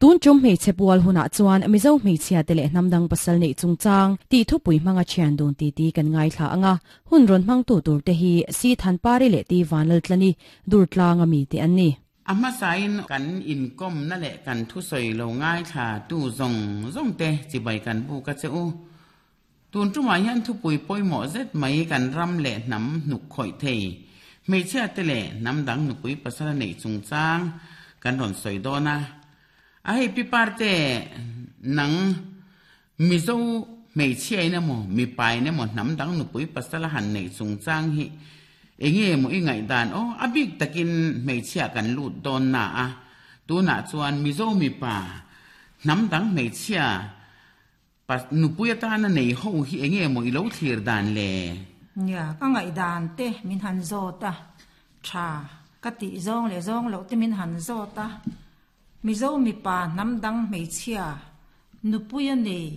Tun tum hmeichhe pual hunah chuan Mizo hmeichhia te leh hnamdang pasal neih chungchang tih thupui hmanga thian dun titi kan ngaithla ang a, hun rawn hmangtu tur te hi Si Thanpari leh Ti Vanlaltlani Durtlanga mite an ni. A hmasain kan inkawmna leh kan thusawi lo ngaithla tu zawng zawng te chibai kan buk a che u. Tun tumah hian thupui pawimawh zet mai kan ram leh hnam hnuk khawih thei, hmeichhia te leh hnam dang nupui pasal a neih chungchang kan rawn sawi dawn a. A hei pi parte nang Mizo hmeichhiain emaw mipain emaw hnam dang nupui pasal a han neih chungchang hi enge maw i ngaihdan aw a bik takin hmeichhia kan lut dawn na a, tunah chuan Mizo mipa hnam dang hmeichhia Pa nupui atana nei ho hi enge maw i lo thlir dan le? Nia, ka ngaihdan te min han zawt a, tha ka tih zawng leh zawng loh te min han zawt a. Mizo mipa hnam dang hmeichhia nupui a nei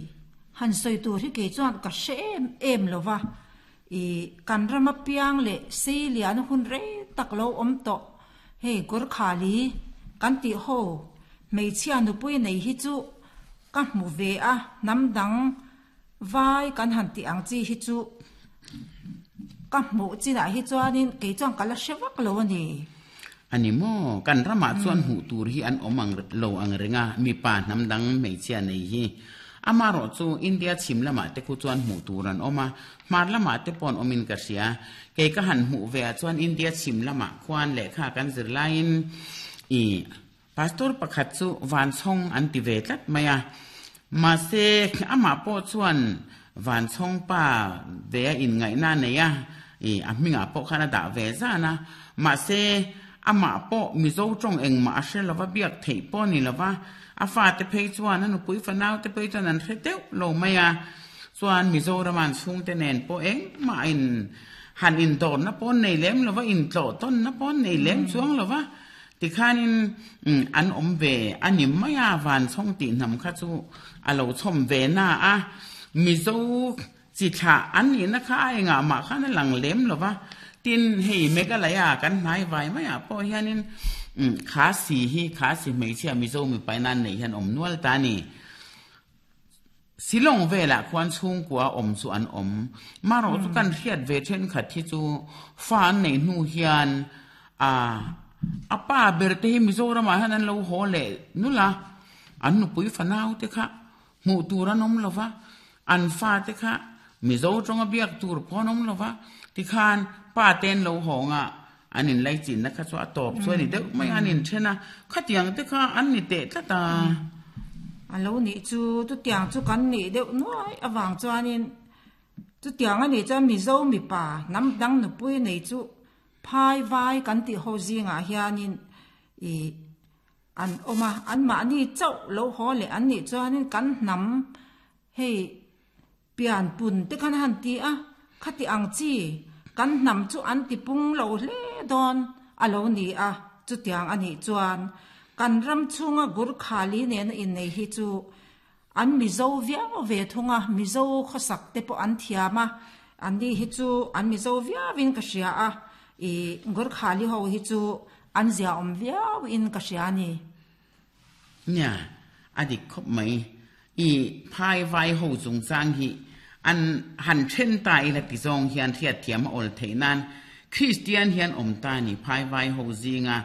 han sawi tur hi kei chuan ka hre em em lo va, i kan rama piang leh sei lian hun rei tak lo awm tawh hei Gurkhali kan tih ho hmeichhia nupui nei hi chu Ka hmu ve a, hnam dang vai kan han tih ang chi hi chu ka hmuh chinah hi chuanin kei chuan ka la hre vak lo a ni. A ni maw? Kan ramah chuan hmuh tur hi an awm ang lo ang reng a, mipa hnam dang hmeichhia nei hi. Amaherawh chu India chhim lamah te khu chuan hmuh tur an awm a, hmar lamah te pawh an awmin ka hria. Kei ka han hmuh ve ah chuan India chhim lamah khuan lehkha kan zir laiin i Pastor pakhat chu Vanchhawng an ti ve tlat mai a, mahse amah pawh chuan Vanchhawng pa ve a inngaihna a nei a, ih a hmingah pawh khan a dah ve zan a, mahse amah pawh Mizo tawng engmah a hre lova biak theih pawh a ni lova, a fate phei chuan a nupui fanau te phei chuan an hre deuh lo mai a, chuan Mizorama an chhungte nen pawh engmah in han indawrna pawh an nei lem lova, intlawh tawnna pawh an nei lem chuang lova. Tikhanin an awm ve a ni mai a, Vanchhawng tih hnam kha chu a lo chhawm ve na a, Mizo chi thlah an nihna kha a engah mah khan a lang lem lo va, tin hei Meghalaya kan hnai vai maiah pawh hianin Khasi hi Khasi hmeichhia Mizo mipa in an neih hian awm nual ta a ni. Silawng velah khuan chhungkua awm chu an awm. Marawh chu kan hriat ve thenkhat hi chu fa an neih hnu hian a a pa ber te hi Mizoramah hian an lo haw leh nulh a, an nupui fanau te kha hmuh tur an awm lo va, an fa te kha Mizo tawnga biak tur pawh an awm lo va, tikhan pa te an lo hawng a, an inlaichinna kha chu a tawp chu a ni deuh mai a, an inthen a, khatiang te kha an ni teh tlat a. A lo nih chu chutiang chu kan nih deuh nuai avang chuanin chutiang a nih chuan Mizo mipa hnam dang nupui nei chu phai vai kan tih ho zingah hianin ih an awm a, anmahni chauh lo haw leh an nih chuanin kan hnam hei Pian pun te khan a han ti a, khati ang chi kan hnam chu an ti pung lo hle dawn a lo ni a, chutiang a nih chuan kan ram chhunga Gurkhali nena innei hi chu an Mizo viau ve thung a, Mizo khawsak te pawh an thiam a, an ni hi chu an Mizo viauin ka hria a, i Gurkhali ho hi chu an ziaawm viauin ka hria a ni. Nia, a dik khawp mai. I phai vai ho chungchang hi an han then ta ila ti zawng hian hriatthiam a awl theih nan Kristian hian awm ta ni phai vai ho zinga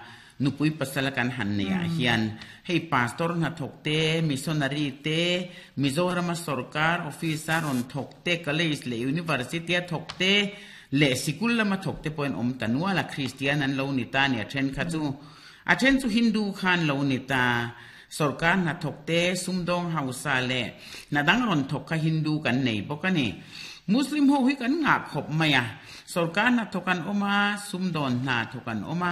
nupui pasal kan han nei ah hian hei pastor hnathawk te, missionary te, Mizorama sorkar office a rawn thawk te, college leh university a thawk te leh sikul lama thawk te pawhin awm ta nual a Kristian an lo ni ta ni a then kha chu. A then chu Hindu khan lo ni ta. Sorkar hnathawk te, sumdawng hausa leh hna dang rawn thawk kha Hindu kan nei bawk a ni. Muslim ho hi kan ngah khawp mai a. Sorkar hnathawk an awm a, sumdawn hna thawk an awm a.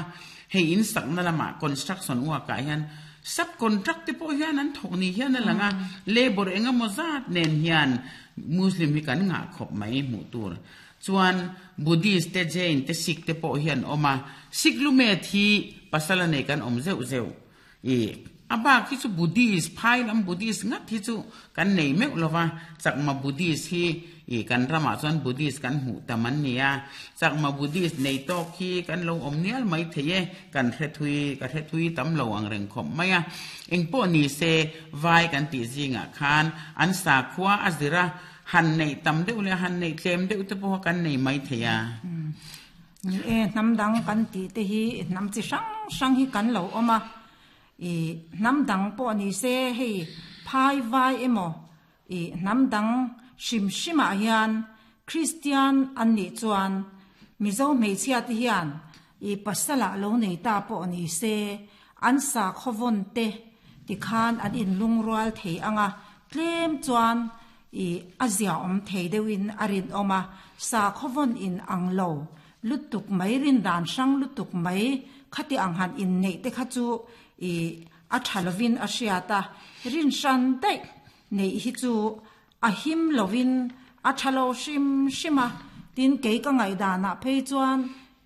Hei in sakna lamah construction work ah hian sub contract te pawh hian an thawk ni hian a lang a. Labour eng emaw zat nen hian Muslim hi kan ngah khawp mai hmuh tur. Chuan Buddhist te, Jain te, Sikh te pawh hi an awm a. Sikh lumet hi pasal a nei kan awm zeuh zeuh. I a bak hi chu Buddhist, phai lam Buddhist ngat hi chu kan nei meuh lo va, Chakma Buddhist hi i kan ramah chuan Buddhist kan hmuh tam an ni a, Chakma Buddhist nei tawk hi kan lo awm nial mai thei e, kan hre thui, ka hre thui tam lo ang reng khawp mai a. Engpawh ni se, vai kan tih zingah khan an sakhua a zir a, han neih tam deuh leh han neih tlem deuh te pawh kan nei mai thei a. Ni e, hnam dang kan tih te hi hnam chi hrang hrang hi kan lo awm a, i hnam dang pawh ni se hei phai vai emaw i hnam dang hrim hrimah hian Kristian an nih chuan Mizo hmeichhia te hian i pasala lo nei ta pawh ni se an sakhaw vawn te tikhan an inlungrual thei ang a, tlem chuan I a ziaawm thei deuhin a rinawm a, sakhaw vawn in ang lo lutuk mai, rindan hrang lutuk mai khati ang han inneih te kha chu i a tha lovin a hriat a, rin hran daih neih hi chu a him lovin a tha lo hrim hrim a, tin kei ka ngaihdanah phei chuan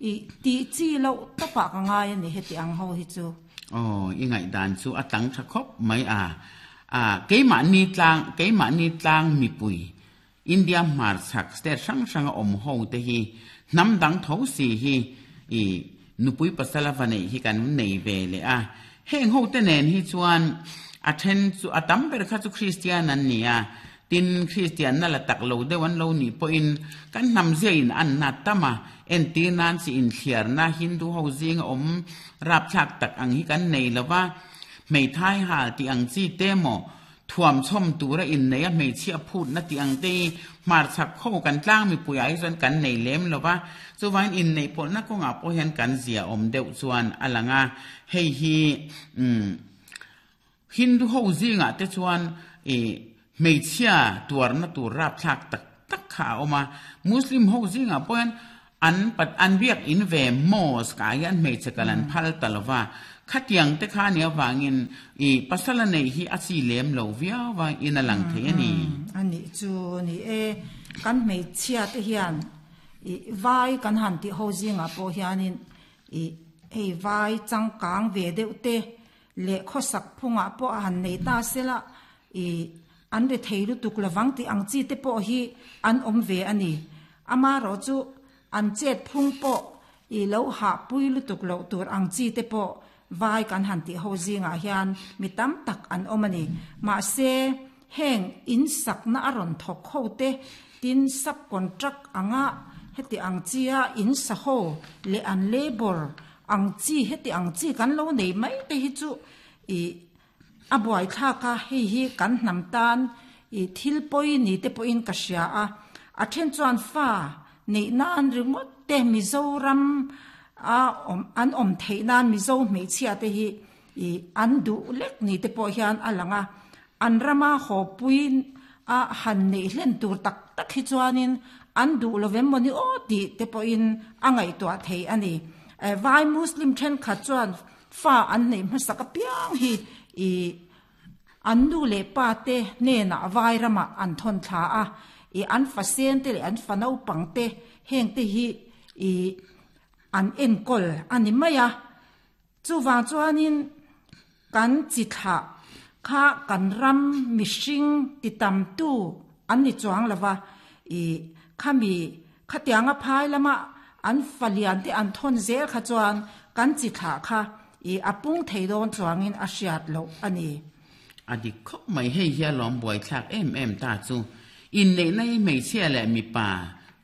i tih chi loh tawpah ka ngai a ni heti ang ho hi chu. Aw, i ngaihdan chu a tlang tha khawp mai a. A, keimahni tlang, keimahni tlang mipui, India hmarchhak state hrang hranga awm ho te hi hnam dang tho si hi i nupui pasal a va neih hi kan nei ve leh a. Heng ho te nen hi chuan a then chu, a tam ber kha chu Kristian an ni a, tin Kristianna la tak lo deuh an lo nih pawhin kan hnam zia in an nat tam a, entir nan chi inthliarna Hindu ho zinga awm rapthlak tak ang hi kan nei lo va. Hmeithai hal tih ang chi te maw? Thuamchhawm tura inneih a hmeichhia phutna tih ang te hi hmarchhak kho kan tlang mipui ah hi chuan kan nei lem lo va, chuvangin inneih pawlhna kawngah pawh hian kan zia awm deuh chuan a lang a, hei hi umm Hindu ho zingah te chuan ih hmeichhia tuarna tur rapthlak tak tak kha a awm a, Muslim ho zingah pawh hian An pat an biak in ve mosque ah hian hmeichhe kal an phal ta lo va, khatiang te kha nia vangin i pasal a neih hi a chi lem lo viau va in a lang thei a ni. A nih chu ni e, kan hmeichhia te hian i vai kan han tih ho zingah pawh hianin i hei vai changkang ve deuh te leh khawsak phungah pawh a han nei ta sela i an ri thei lutuk lovang tih ang chi te pawh hi an awm ve a ni. Amaherawh chu an chet phung pawh i lo hahpui lutuk loh tur ang chi te pawh vai kan han tih ho zingah hian mi tam tak an awm a ni. Mahse, heng in sakna a rawn thawk ho te, tin sub contract anga heti ang chia in sa ho leh an labour ang chi heti ang chi kan lo nei mai te hi chu i A buaithlak a, hei hi kan hnam tan i thil pawi ni te pawhin ka hria a, a then chuan fa neih nan ringawt te Mizoram a awm an awm theih nan Mizo hmeichhia te hi i an duh lek ni te pawh hian a lang a, an rama haw pui a han neih hlen tur tak tak hi chuanin an duh lo vem maw ni aw tih te pawhin a ngaihtuah thei a ni. Vai Muslim thenkhat chuan Fa an neih hmasak apiang hi i an nu leh pa te hnenah vai ramah an thawn thla a, i an fa sen te leh an fa naupang te heng te hi i an enkawl a ni mai a. Chuvang chuanin kan chi thlah kha kan ram mihring ti tamtu an ni chuang lo va, i khami Khatianga phai lama an falian te an thawn zel kha chuan kan chi thlah kha i a pung thei dawn chuangin a hriat loh a ni. A dik khawp mai, hei hi a lawm buaithlak em em ta chu. Inneihna hi hmeichhia leh mipa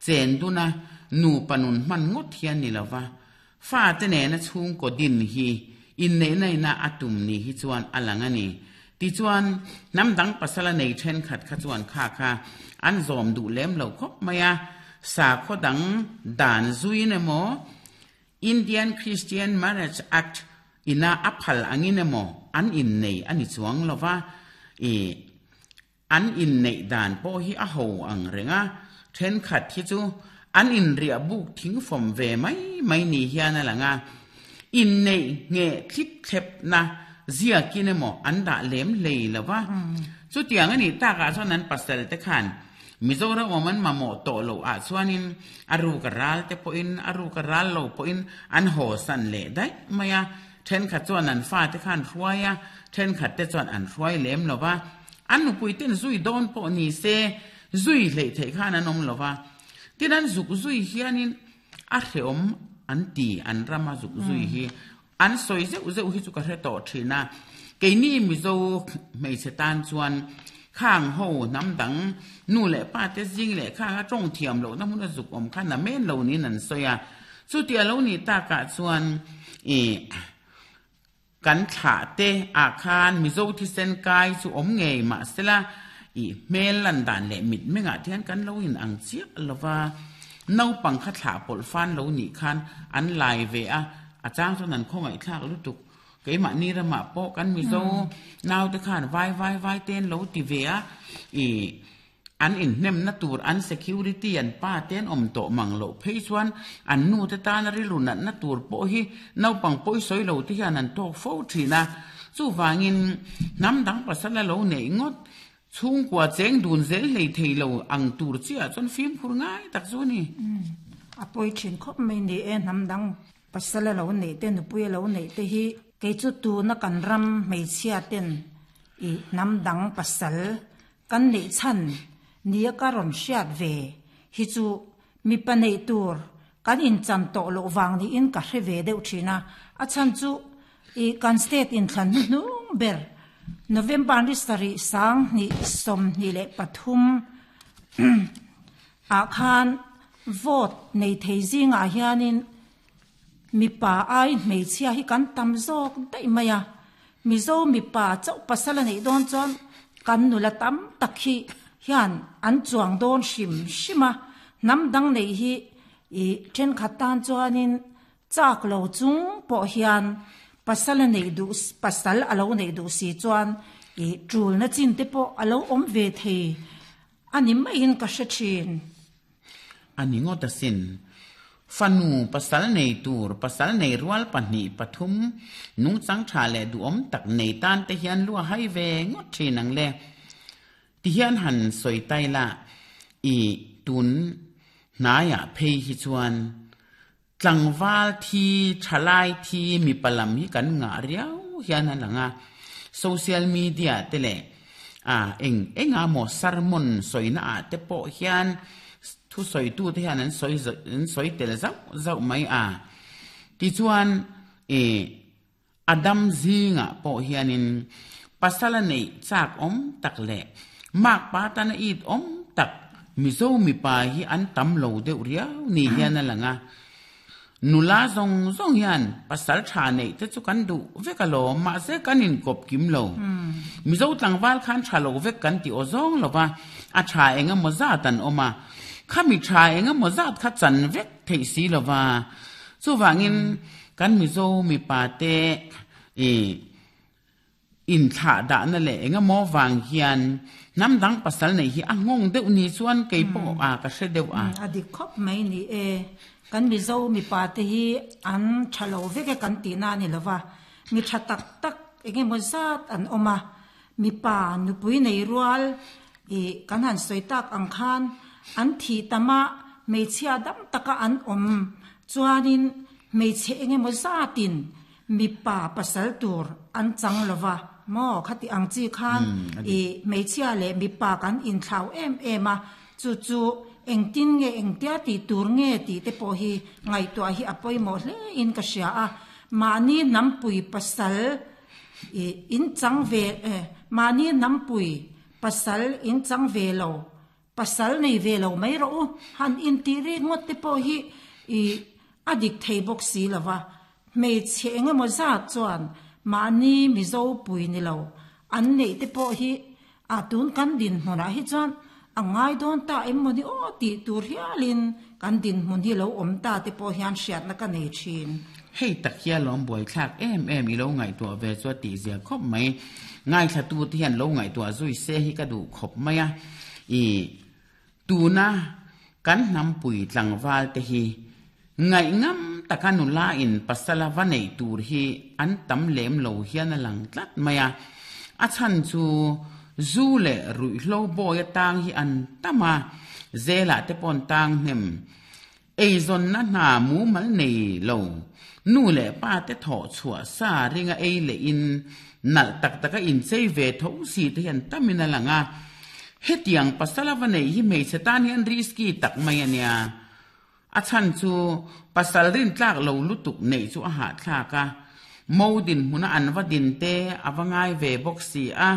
chen duna nupa nun hman ngawt hi a ni lo va, Fate nena chhungkaw din hi inneihna ina a tum ni hi chuan a lang a ni. Tichuan, hnam dang pasala nei thenkhat kha chuan kha kha an zawm duh lem lo khawp mai a, sakhaw dang dan zuin emaw, Indian Christian Marriage Act ina a phal angin emaw an innei a ni chuang lo va, ih. An inneih dan pawh hi a ho ang reng a, thenkhat hi chu an inriah buk thing fawm ve mai mai ni hian a lang a, inneih ngheh thlip thlepna ziakin emaw an dah lem hlei lo va. Chutiang a nih takah chuan an pasal te khan Mizoram awm an mamawh tawh loh ah chuanin a ruk a ral te pawhin a ruk a ral lo pawhin an haw san leh daih mai a. Thenkhat chuan an fate kha an hruai a, thenkhat te chuan an hruai lem lo va. An nupui ten zui dawn pawh ni se, zui hleih theih khan an awm lo va. Tin an zuk zui hianin a hreawm an ti, an rama zuk zui hi. An sawi zeuh zeuh hi chu ka hre tawh thin a, keini Mizo hmeichhe tan chuan khang ho hnam dang nu leh pa te zing leh khang a tawng thiam lohna hmun a zuk awm kha na men lo niin an sawi a. Chuti a lo nih takah chuan ih kan thlah te ah khan Mizo thisen kai chu awm ngei mahsela ih hmel lan dan leh mitmengah te hian kan lo in ang chiah lo va, naupang kha thlah pawlh fan lo nih khan an lai ve a, a chang chuan an khawngaihthlak lutuk. Keimahni ramah pawh kan Mizo naute khan vai vai vai te an lo ti ve a, ih An inhnemna tur an security an pa te an awm tawh mang loh phei chuan an nu te tana rilru natna tur pawh hi naupang pawi sawi lo te hian an tawk fo thin a. Chuvangin hnam dang pasal a lo neih ngawt chhungkua cheng dun zel hlei thei lo ang tur chiah chuan fimkhur ngai tak chu a ni. A pawi thin khawp mai ni e hnam dang pasal a lo neih te nupui a lo neih te hi kei chu tuna kan ram hmeichhia ten i hnam dang pasal Kan neih chhan nia ka rawn hriat ve hi chu mipa neih tur kan inchan tawh loh vang niin ka hre ve deuh thin a, a chhan chu i kan state inthlan hnuhnung ber November ni sarih 20 23 ah khan vote nei thei zingah hianin mipa ai hmeichhia hi kan tam zawk daih mai a, Mizo mipa chauh pasal a neih dawn chuan kan nula tam tak hi hian an chuang dawn hrim hrim a, hnam dang neih hi ih thenkhat tan chuanin chak lo chung pawh hian pasal a neih duh pasal a lo neih duh si chuan ih tulna chin te pawh a lo awm ve thei a ni maiin ka hre thin. A ni ngawt asin. Fanu pasal nei tur, pasal nei rual pahnih pathum, nungchang tha leh duhawm tak nei tan te hian lu a hai ve ngawt thin ang le. Tihian han sawi tai la, i tun hnaiah phei hi chuan Tlangval thi, thalai thi mipa lam hi kan ngah riau hian a lang a, social media te leh ah eng enga maw sermon sawina ah te pawh hian thusawitu te hian an sawi an sawi tel zauh zauh mai a. Tichuan ih a dam zingah pawh hianin pasal a neih chak awm tak leh makpa tana it awm tak Mizo mipa hi an tam lo deuh riau ni hian a lang a. Nula zawng zawng hian pasal tha neih te chu kan duh vek alawm mahse kan inkawp kim lo. Mizo tlangval khan tha lo vek kan ti aw zawng lo va, a tha eng emaw zat an awm a, khami tha eng emaw zat kha chan vek theih si lo va. Chuvangin kan Mizo mipa te ih inthlah dahna leh eng emaw vang hian hnam dang pasal neih hi a nghawng deuh ni chuan kei pawh a ka hre deuh a. A dik khawp mai ni e. Kan Mizo mipa te hi an tha lo vek e kan tihna a ni lo va. Mi tha tak tak eng emaw zat an awm a. Mipa nupui nei rual ih kan han sawi tak ang khan an thih tam a, hmeichhia dam taka an awm chuanin hmeichhe eng emaw zatin mipa pasal tur an chang lo va maw khati ang chi khan ih hmeichhia leh mipa kan inthlau em em a, chu chu engtin nge engtia tih tur nge tih te pawh hi ngaihtuah hi a pawimawh hle in ka hria a, mahni hnampui pasal Ih, in chang ve eh, mahni hnampui pasal in chang ve lo, pasal nei ve lo mai rawh u, han intih rik ngawt te pawh hi ih a dik thei bawk si lo va, hmeichhe eng emaw zat chuan mahni Mizo pui ni lo an neih te pawh hi a tun kan dinhmunah hi chuan a ngai dawn ta em maw ni aw tih tur hialin kan dinhmun hi lo awm ta te pawh hian hriatna ka nei thin. Hei tak hi a lawm buaithlak em em i lo ngaihtuah ve chu a tihzia khawp mai. Ngaithlatu te hian lo ngaihtuah zui se hi ka duh khawp mai a. I tuna kan hnampui tlangval te hi ngaihngam taka nula in pasala va neih tur hi an tam lem lo hian a lang tlat mai a. A chhan chu zu leh ruihhlo bawi atang hi an tam a, zelah te pawh an tang hnem. Eizawnna hna mumal nei lo, nu leh pa te thawh chhuah sa ringa ei leh in nalh tak taka inchei ve tho si te hian tamin a lang a. Hetiang pasal a va neih hi hmeichhe tan hian risky tak mai a nia. A chhan chu pasal rintlak lo lutuk neih chu a hahthlak a, mo dinhmuna an va din te a va ngai ve bawk si a.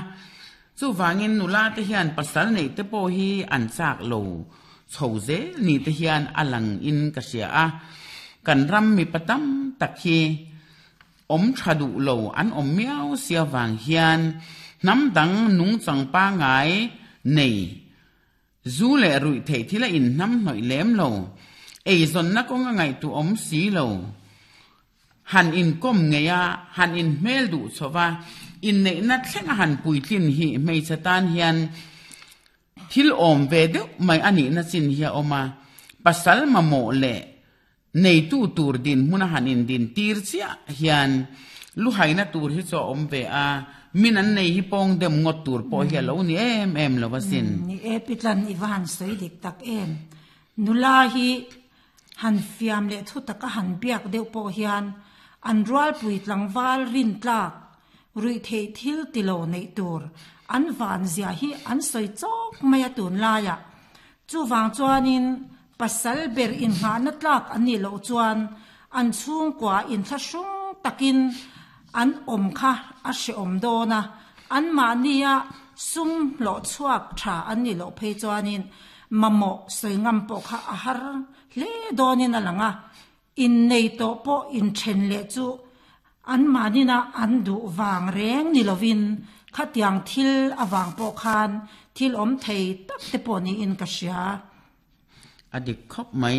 Chuvangin nula te hian pasal neih te pawh hi an chak lo chho zel ni te hian a lang in ka hria a, kan ram mipa tam tak hi awm tha duh lo an awm miau sia vang hian hnam dang nungchang pangai nei Zu leh ruih theih thil a inhnamhnawih lem lo, eizawnna kawng a ngaihtuah awm si lo. Han inkawm ngei a, han inhmel duh chho va, inneihna thleng a han puitlin hi hmeichhe tan hian thil awm ve deuh mai a nihna chin hi a awm a, pasal mamawh leh neitu tur dinhmun a han indin tir chiah hian luhaina tur hi chu a awm ve a, min an nei hi pawng dem ngawt tur pawh hi a lo ni em em lo asin. Ni e Pitlan i va han sawi dik tak em. Nula hi han fiam leh thu taka han biak deuh pawh hian an rualpui tlangval rintlak ruih theih thil ti lo neih tur an van zia hi an sawi chawk mai a tunlaiah. Chuvang chuanin Pasal ber inngahna tlak an nih loh chuan an chhungkua inthlahrung takin an awm kha a hrehawm dawn a, anmahnia sum hlawh chhuak tha an nih loh phei chuanin mamawh sawi ngam pawh kha a har hle dawnin a lang a, innei tawh pawh inthen leh chu anmahnina an duh vang reng ni lovin khatiang thil avang pawh khan thil awm thei tak te pawh niin ka hria. A dik khawp mai.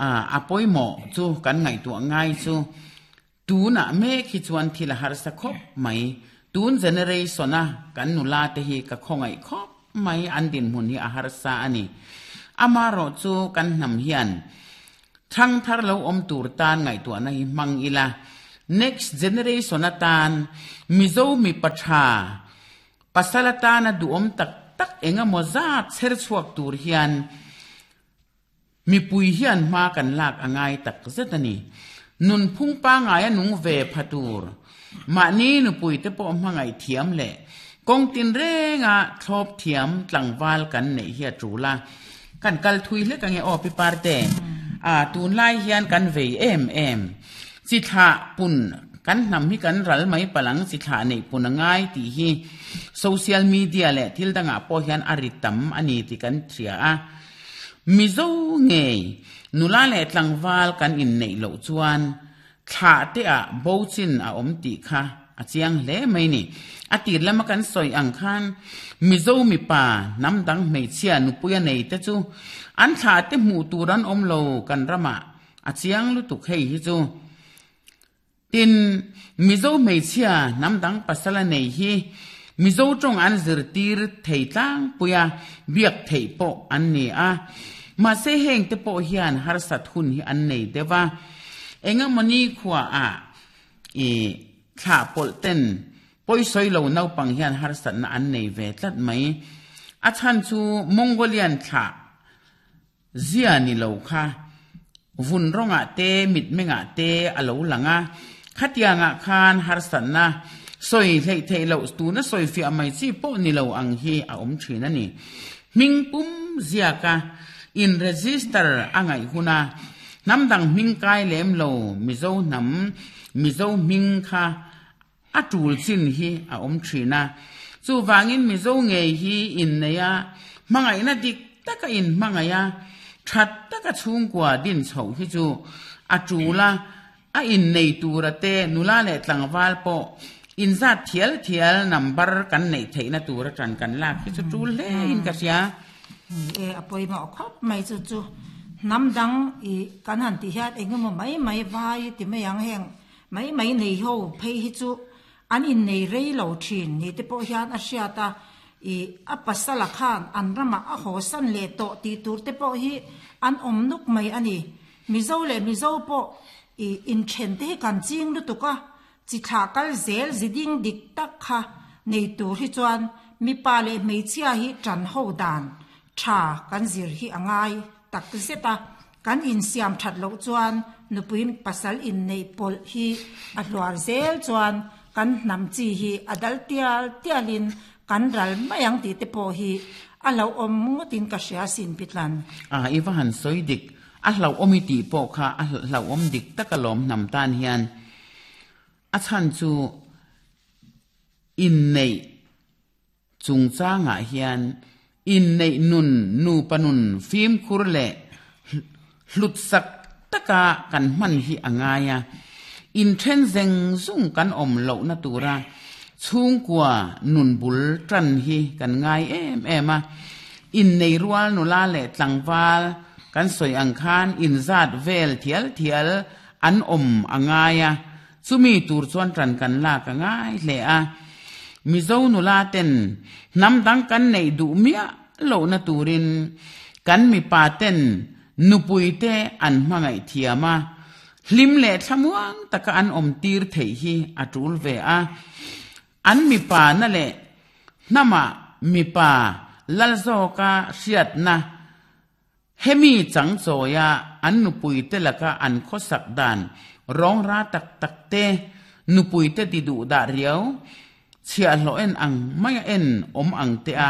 A, a pawimawh chu kan ngaihtuah ngai chu tunah mek hi chuan thil a harsa khawp mai. Tun generation a kan nula te hi ka khawngaih khawp mai, an dinhmun hi a harsa a ni. Amaherawh chu kan hnam hian thangthar lo awm tur tan ngaihtuahna hi hmang ila, next generation atan Mizo mipa tha, Pasal atana duhawm tak tak eng emaw zat chher chhuak tur hian mipui hian hma kan lak a ngai tak zet a ni. Nunphung pangai a nung ve pha tur, mahni nupui te pawh hmangaih thiam leh kawng tinrenga thlawp thiam tlangval kan neih hi a tul a. Kan kal thui hlek ange aw Pi Parte, a tunlai hian kan vei em em. Chi thlah pun kan hnam hi kan ral mai palang chi thlah neih pun a ngai tih hi social media leh thil dangah pawh hian a ri tam a ni tih kan hria a. Mizo ngei nula leh tlangval kan inneih loh chuan thlah te ah bo chin a awm tih kha a chiang hle mai ni. A tir lama kan sawi ang khan Mizo mipa hnam dang hmeichhia nupui a nei te chu an thlah te hmuh tur an awm lo kan ramah A chiang lutuk hei hi chu. Tin, Mizo hmeichhia hnam dang pasal a nei hi Mizo tawng an zirtir thei tlangpui a, biak theih pawh an ni a. Mahse heng te pawh hian harsat hun hi an nei deuh a. Engemawni khuaah i thlah pawlh ten pawisawi lo naupang hian harsatna an nei ve tlat mai. A chhan chu Mongolian thlah Zia ni lo kha vun rawngah te mitmengah te a lo lang a, khatiangah khan harsatna sawi hleih theih loh tuna sawi fiah mai chi pawh ni lo ang hi a awm thin a ni. Hming pum ziaka in register a ngaih huna hnam dang hming kai lem lo Mizo hnam Mizo hming kha A tul chin hi a awm thin a, chuvangin Mizo ngei hi innei a, hmangaihna dik taka inhmangaih a, that taka chhungkua din chhoh hi chu a tul a, a innei tura te nula leh tlangval pawh inzat thial thial number kan neih theihna tur atang kan lak hi chu tul hle in ka hria. Ni e, a pawimawh khawp mai chu chu hnam dang i kan han tih hian engemaw mai mai vai ti mai ang heng Mai mai nei ho phei hi chu an innei rei lo thin ni te pawh hian a hriat a, ih a pasala khan an ramah a haw san leh tawh tih tur te pawh hi an awm nuk mai a ni. Mizo leh Mizo pawh ih inthen te hi kan ching lutuk a, chi thlah kal zel zi ding dik tak kha nei tur hi chuan mipa leh hmeichhia hi tan ho dan tha kan zir hi a ngai tak zet a. Kan insiam that loh chuan nupui pasal inneih pawlh hi a hluar zel chuan kan hnam chi hi a dal tial tialin kan ral mai ang tih te pawh hi a hlauhawm ngawtin ka hria asin Pitlan. A, i va han sawi dik. A hlauhawm i tih pawh kha a hlauhawm dik tak alawm hnam tan hian. A chhan chu inneih chungchangah hian inneih nun nupa nun fimkhur leh hlutsak taka kan hman hi a ngai a, inthen zeng zung kan awm lohna tura chhungkua nun bul tan hi kan ngai em em a. Innei rual nula leh tlangval kan sawi ang khan inzat vel thial thial an awm a ngai a, Chumi tur chuan ṭan kan lak a ngai hle a. Mizo nula ten hnam dang kan neih duh miah lohna turin kan mipa ten nupui te an hmangaih thiam a, hlim leh thlamuang taka an awm tir theih hi a ṭul ve a. An mipa na leh hnamah mipa lal zawka hriatna Hemi changchawia an nupuite laka an khawsak dan rawngra tak tak te, nupuite ti duh dah riau, chhiahhlawh en ang maia en awm ang te a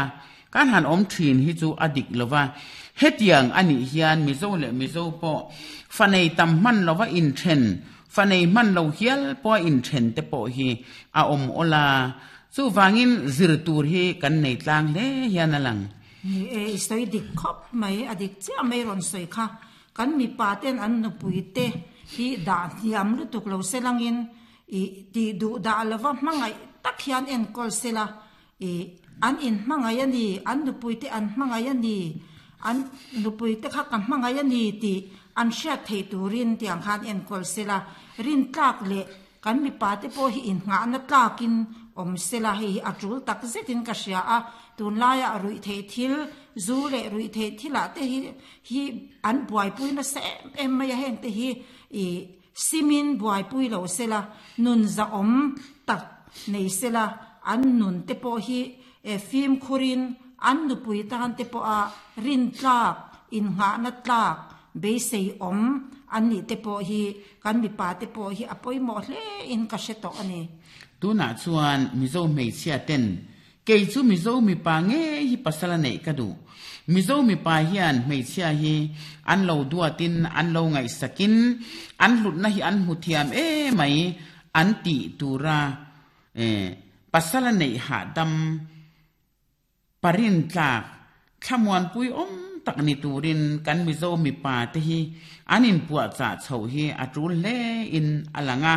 kan han awm thin hi chu a dik lo va. Hetiang a nih hian Mizo leh Mizo pawh fa nei tam hman lova inthen, fa nei hman lo hial pawha inthen te pawh hi a awm awl a. Chuvangin zir tur hi kan nei tlang hle hian a lang. Ni e, i sawi dik khawp mai, a dik chiah mai rawn sawi kha. Kan mipa ten an nupui te hi dah hniam lutuk lo se langin i tih duh dah lova hmangaih tak hian enkawl se la, i an inhmangaih a ni, an nupui te an hmangaih a ni, an nupui te kha ka hmangaih a ni tih an hriat theih turin tiang khan enkawl se la, rintlak leh Kan mipate pawh hi inngahna tlakin awm sela, hei hi a tul tak zetin ka hria a, tunlaia ruihtheih thil, zu leh ruihtheih thilah te hi hi an buaipui nasa em em mai a, hengte hi ih simin buaipui lo sela, nun zahawm tak nei sela, an nun te pawh hi fimkhurin an nupui tan te pawha rintlak, inngahna tlak beisei awm an nih te pawh hi Kan mipa te pawh hi a pawimawh hle in ka hre tawh a ni. Tunah chuan Mizo hmeichhia ten, Kei chu Mizo mipa ngei hi pasal a neih ka duh. Mizo mipa hian hmeichhia hi an lo duatin an lo ngaihsakin an hlutna hi an hmu thiam emai an tih tura pasal a neih hahdam Parin tlak, thlamuanpui awm tak ni turin kan Mizo mipa te hi an inpuahchah chhoh hi a tul hle in a lang a.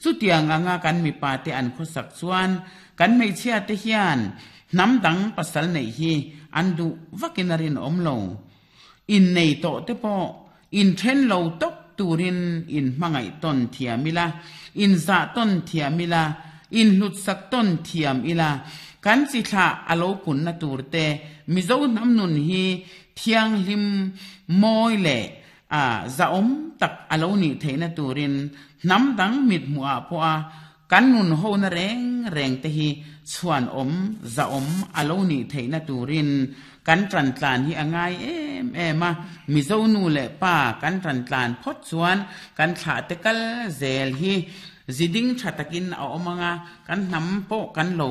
Chutiang anga kan mipa te an khawsak chuan kan hmeichhia te hian hnam dang pasal neih hi an duh vakin a rinawm lo. Innei tawh te pawh inthen lo tawp turin inhmangaih tawn thiam ila, inzah tawn thiam ila, inhlutsak tawn thiam ila, kan chi thlah a lo punna tur te Mizo hnam nun hi thianghlim mawi leh a zahawm tak a lo nih theihna turin hnam dang mithmuhah pawha kan nun hona reng reng te hi chhuanawm zahawm a lo nih theihna turin kan tantlan hi a ngai em em a, Mizo nu leh pa kan tantlan phawt chuan kan thlah te kal zel hi ziding tha takin a awm ang a, kan hnam pawh kan lo.